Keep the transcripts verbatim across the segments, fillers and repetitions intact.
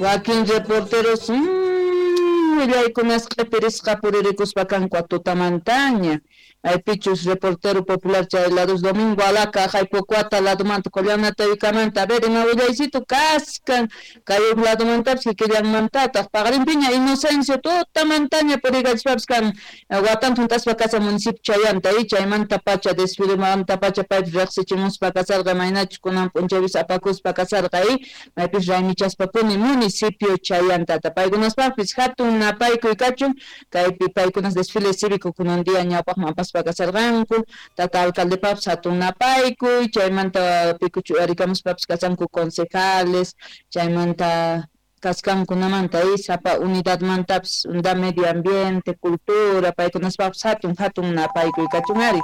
Wakin reporteros mmm, willaykunas q'ipirisqa puririkuspa kanku tutamantaña. Maypichus reportero popular chay lados Domingo Alaca Jaipocuata ladumanta Collanatayukamanta a ver ima willaycito kaskan kay huk ladumantapis kikillanmantataq paqarinpiña Inocencio tutamantaña purikachpapas kan watanta hunt'aspa kashan municipio chayanta y chaymanta pacha desfilemanta pacha paypis riqsichimuspa kasarqa imaynachus kunan p'unchaypis apakuspa kasarqa y maypis raymichaspapuni municipio chayantata paykunaspaqpis hatun napaykuy kachun kaypi paykunas desfile cívico kunan día ñawpaqman apaspa kasarqanku tata alcaldepaqpis hatun napaykuy chaymanta pikuchu uyarikamuspapis kashanku concejales chaymanta kaskankunamanta y sapa unidadmantapis unidad medio ambiente cultura paykunaspaqpis hatun hatun napaykuy kachun ari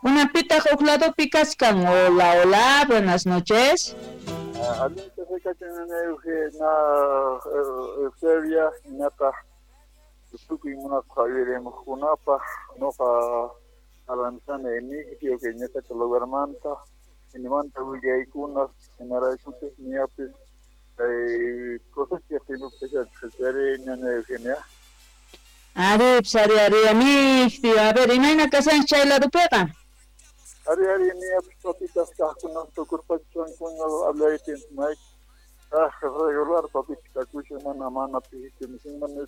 kunanpitaq huk ladopi kaskan. Hola, hola, buenas noches. Allinta na Eusebia hinataq tukuy munasqa uyarimuqkunapaq nuqa Alanzana Emigdio que ñuqata lugarmanta hinamanta willaykunas hinaraykuchus ñapis kay cosecha tiempopi ñaña Eugenia. Ari, ari, ari, Emigdio, a ver, imayna kashanchis chay ladopiqa? Ari, ari, ñapis papitas kaqkuna tukurpachankuna hablaytin may ah regular papitas kakushan mana mana pisichu mana.